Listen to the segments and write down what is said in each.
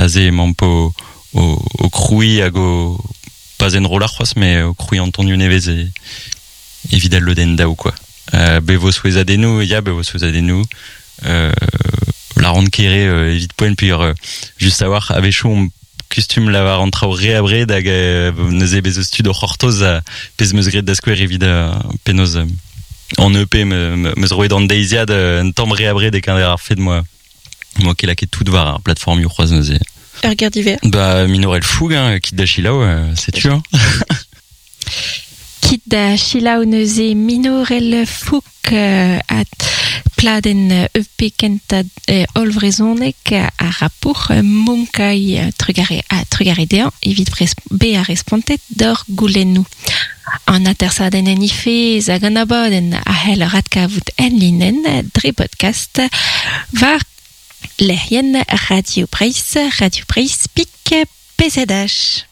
Aze emaomp o, o, o krouiñ hag o pas enrollañ c'hoazh met o krouiñ an tonioù nevez e, evit al lodenn daou quoi. Bet vo souezhadennoù, ya bet vo souezhadennoù. Lâran ket re evit poent peogwir just a-walc'h a-wechoù omp kustum lavar an traoù re abred hag neuze bez eus tud o c'hortoz pezh 'm eus graet da skouer evit penaos an EP 'm eus roet an deiziad un tamm re abred e-keñver ar fed 'moa 'moa ket lakaet tout war ar plateformioù c'hoazh neuze. Ur ger divers. Bah minorel foug hein, kit da selaou, setu hein. Kit da selaou neuze minorel foug at pladenn EP kentañ hollvrezhonek ar rapour Munkai trugare ha trugare dezhañ evit bezañ respontet d'hor goulennoù. An atersadenn en he fezh hag an abadenn a c'heller adkavout enlinenn dre bodkast war lec'hienn Radio Breizh, Radio Breizh pik PZH.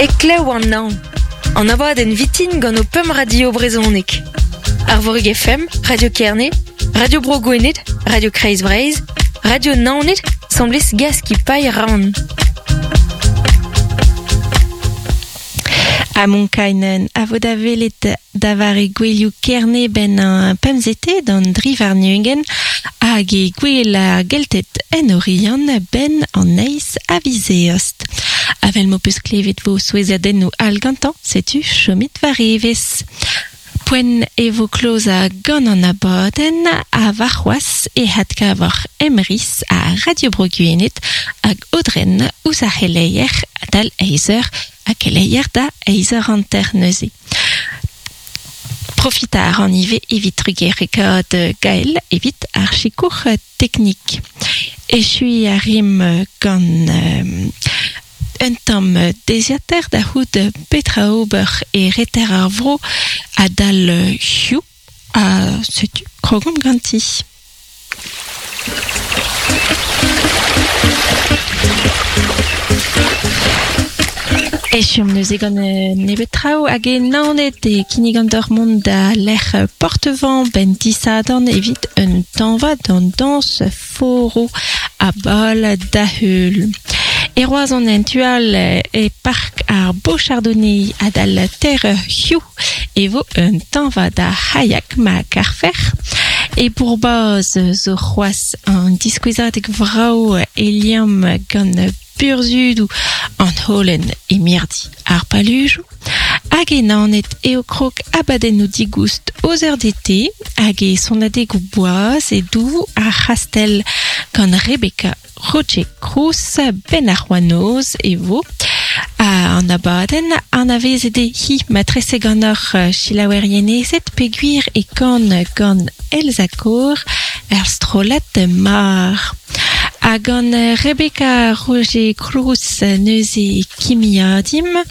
Heklev an hañv, an abadenn vitin gant ho pemp radio brezhonek. Arvorig FM, Radio Kerne, Radio Bro Gwened, Radio Kreiz Breizh, Radio Naoned, 'sambles Gaskipailh Rann. Ha Monkainen a vo da welet da vare gouelioù Kerne 'benn an pemzete d'an dri warn-ugent hag e gouel ar Gelted en Oriant 'benn an eizh a viz Eost. Avel m'ho peus klevet 'vo souezhadennoù all gantañ, setu chomit war evezh. Poent e vo klozañ gant an abadenn ha warc'hoazh e adkavoc'h Emrys ha Radio Bro Gwened hag Aodren ouzh ar c'heleier adal eizh eur ha keleier da eizh eur hanter neuze. Profitañ a ran ivez evit trugarekaat Gael evit ar sikour teknik. Echuiñ a rimp gant un tamm deiziataer da c'hoût petra ober e reter ar vro adal hiziv ha setu krogomp ganti. Echuomp neuze gant nebeut traoù hag e Naoned e kinnigan deoc'h mont da lec'h Portevent 'benn disadorn evit un tañva d'an dañs foro ha bal da heul. E Roazhon en tu all e park ar Beau-Chardonnay adal teir eur hiziv e vo un tañva da c'haiak ma karfec'h. E Bourbaz zo c'hoazh an diskouezadeg vrav e liamm gant burzhudoù an holen e mirdi ar palujoù. Hag e Naoned eo krog abadennoù digoust aux heures d'été hag e sonadegoù boaz e doù ar c'hastell gant Rebecca Roger Cruz benn ar c'hoanoz e vo an abadenn. Anavezet eo hi matrese ganeoc'h selaouerienezed peogwir e kan gant Elsa Kor er strollad Mar. Ha gant Rebecca Roger Cruz neuze e kimiadimp.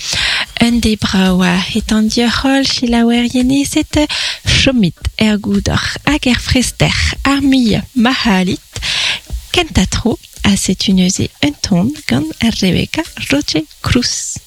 Un deiz brav a hetan deoc'h holl selaouerienezed, chomit er goudor hag er frester ar muiañ ma c'hallit. Kentañ tro, ha setu neuze un ton gant Rebecca Roger Cruz.